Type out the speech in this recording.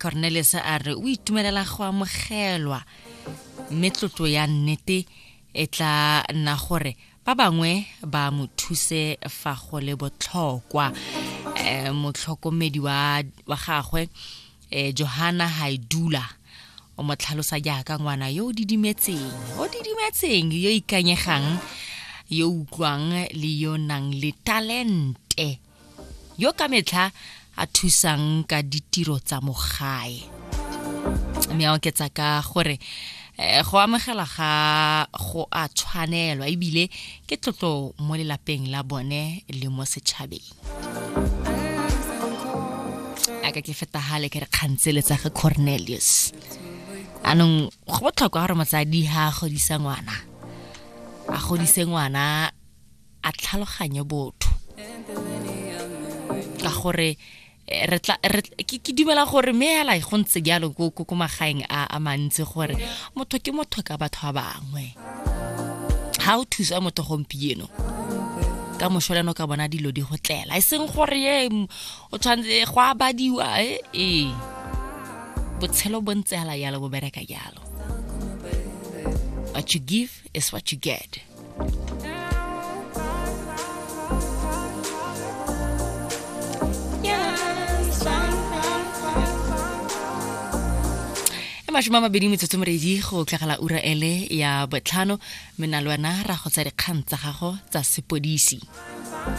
Cornelius a re o itumelela go amogelwa, mme tlotlo ya nnete e tla nna gore ba bangwe ba mo thuse fa go le botlhokwa. Motlhokomedi wa gagwe Johanna Haidula o mo tlhalosa jaaka ngwana yo o didimetseng, yo ikanyegang, yo utlwang le yo nang le talente, yo ka metlha a thusang ka ditiro tsa mo gae. Mme a oketsa ka gore go amogela ga go a tshwanelwa ebile ke tlotlo mo lelapeng la bone le mo setšhabeng. A ka ke feta hale ke re kgantsele tsa ga Cornelius. Anong go botlhokwa gore motsadi ha a godisa ngwana, a godise ngwana a tlhaloganye botho, ka gore re tla ke dumela gore mme hela go ntse jalo ko magaeng a mantsi, gore motho ke motho ka batho ba bangwe. Ha o thusa motho gompieno, ka moso le ka bona dilo di go tlela, e seng gore ye o tshwanetse go a badiwa. E botshelo bo ntse hela jalo, bo bereka jalo. What you give is what you get. E 28 go tlagala ura ele ya 5, mme na le wena ra go tsa dikgang tsa gago tsa sepodisi.